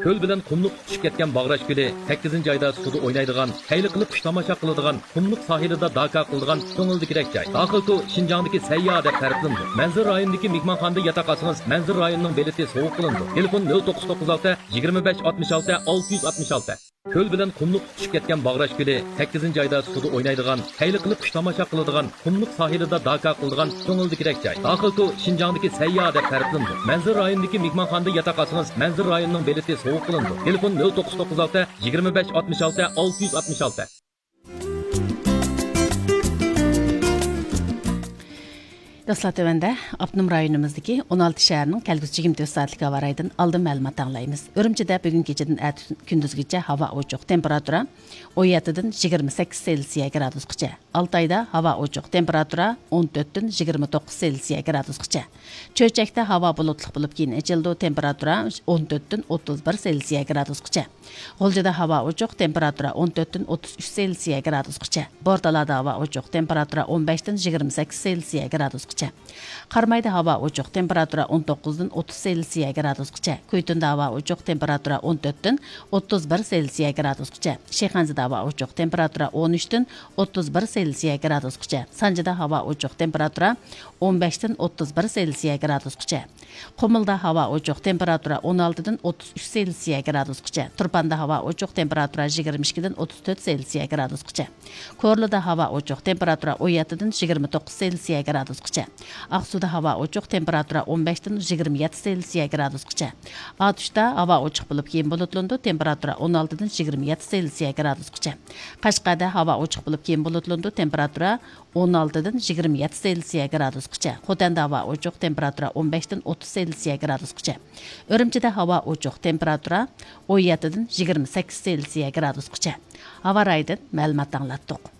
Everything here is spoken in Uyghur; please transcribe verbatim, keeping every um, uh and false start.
كۆل بىلەن قۇملۇق تۇتىشىپ كەتكەن باغراش كۆلى سەككىزىنچى ئايدا سۇدا ئوينايدىغان، خەيلى قىلىپ قۇش تاماشا قىلىدىغان، قۇملۇق ساھىلىدا داكا قىلىدىغان كۆڭۈلدىكىدەك جاي. داخىلكو شىنجاڭدىكى سەيياھ دەپ تەرىپلىنىدۇ. مەنزىرە رايونىدىكى مېھمانخانىدا ياتاق ئالسىڭىز، مەنزىرە رايونىنىڭ بېلىتى سوۋغا قىلىنىدۇ. تېلېفون: نۆل توققۇز توققۇز ئالتە، يىگىرمە بەش، ئاتمىش ئالتە، ئالتە يۈز ئاتمىش ئالتە. كۆل بىلەن قۇملۇق تۇتۇشۇپ كەتكەن باغراش كۆلى سەككىزىنچى ئايدا سۇدا ئوينايدىغان، خەيلى قىلىپ قۇش تاماشا قىلىدىغان، قۇملۇق ساھىلىدا داكا قىلىدىغان كۆڭۈلدىكىدەك جاي. داخىلكو شىنجاڭدىكى سەيياھ دەپ تەرىپلىنىدۇ. مەنزىرە رايونىدىكى مېھمانخانىدا ياتاق ئالسىڭىز، مەنزىرە رايونىنىڭ بېلىتى سوۋغا قىلىنىدۇ. تېلېفون: نۆل توققۇز توققۇز ئالتە، يىگىرمە بەش، ئاتمىش ئالتە، ئالتە يۈز ئاتمىش ئالتە. دوستلار، تۆۋەندە ئاپتونوم رايونىمىزدىكى ئون ئالتە شەھەرنىڭ كەلگۈسى يىگىرمە تۆت سائەتلىك ھاۋا رايىدىن ئالدىن مەلۇمات ئاڭلايمىز. ئۈرۈمچىدە بۈگۈن كېچىدىن ئەتە كۈندۈزگىچە ھاۋا ئوچۇق، تېمپېراتۇرا ئون يەتتىدىن يىگىرمە سەككىز سېلسىيە گرادۇسقىچە. ئالتايدا ھاۋا ئوچۇق، تېمپېراتۇرا ئون تۆتتىن يىگىرمە توققۇز سېلسىيە گرادۇسقىچە. چۆچەكتە ھاۋا بۇلۇتلۇق بولۇپ، كېيىن ئېچىلىدۇ، تېمپېراتۇرا ئون تۆتتىن ئوتتۇز بىر سېلسىيە گرادۇسقىچە. غۇلجىدا ھاۋا ئوچۇق، تېمپېراتۇرا ئون تۆتتىن ئوتتۇز ئۈچ سېلسىيە گرادۇسقىچە. بورتالادا ھاۋا ئوچۇق، تېمپېراتۇرا ئون بەشتىن يىگىرمە سەككىز سېلسىيە گرادۇسقىچە. قارامايدا ھاۋا ئوچۇق، تېمپېراتۇرا ئون توققۇزدىن ئوتتۇز سېلسىيە گرادۇسقىچە. كۈيتۇندا ھاۋا ئوچۇق، تېمپېراتۇرا ئون تۆتتىن ئوتتۇز بىر سېلسىيە گرادۇسقىچە. شىخەنزىدە ھاۋا ئوچۇق، تېمپېراتۇرا ئون ئۈچتىن ئوتتۇز بىر سېلسىيە گرادۇسقىچە. سانجىدا ھاۋا ئوچۇق، تېمپېراتۇرا ئون بەشتىن ئوتتۇز بىر سېلسىيە گرادۇسقىچە. قۇمۇلدا ھاۋا ئوچۇق، تېمپېراتۇرا ئون ئالتىدىن ئوتتۇز ئۈچ سېلسىيە گرادۇسقىچە. تۇرپاندا ھاۋا ئوچۇق، تېمپېراتۇرا يىگىرمە ئىككىدىن ئوتتۇز تۆت سېلسىيە گرادۇسقىچە. كورلىدا ھاۋا ئوچۇق، تېمپېراتۇرا ئون يەتتىدىن يىگىرمە توققۇز سېلسىيە گرادۇسقىچە. ئاقسۇدا ھاۋا ئوچۇق، تېمپېراتۇرا ئون بەشتىن يىگىرمە يەتتە سېلسىيە گرادۇسقىچە. ئاتۇشتا ھاۋا ئوچۇق بولۇپ، كېيىن بۇلۇتلىنىدۇ، تېمپېراتۇرا ئون ئالتىدىن يىگىرمە يەتتە سېلسىيە گرادۇسقىچە. قەشقەردە ھاۋا ئوچۇق بولۇپ، كېيىن بۇلۇتلىنىدۇ، تېمپېراتۇرا ئون ئالتىدىن يىگىرمە يەتتە سېلسىيە گرادۇسقىچە. خوتەندە ھاۋا ئوچۇق، تېمپېراتۇرا ئون بەشتىن ئوتتۇز سېلسىيە گرادۇسقىچە. ئۈرۈمچىدە ھاۋا ئوچۇق، تېمپېراتۇرا ئون يەتتىدىن يىگىرمە سەككىز سېلسىيە گرادۇسقىچە. ھاۋا رايىدىن مەلۇمات ئاڭلاتتۇق.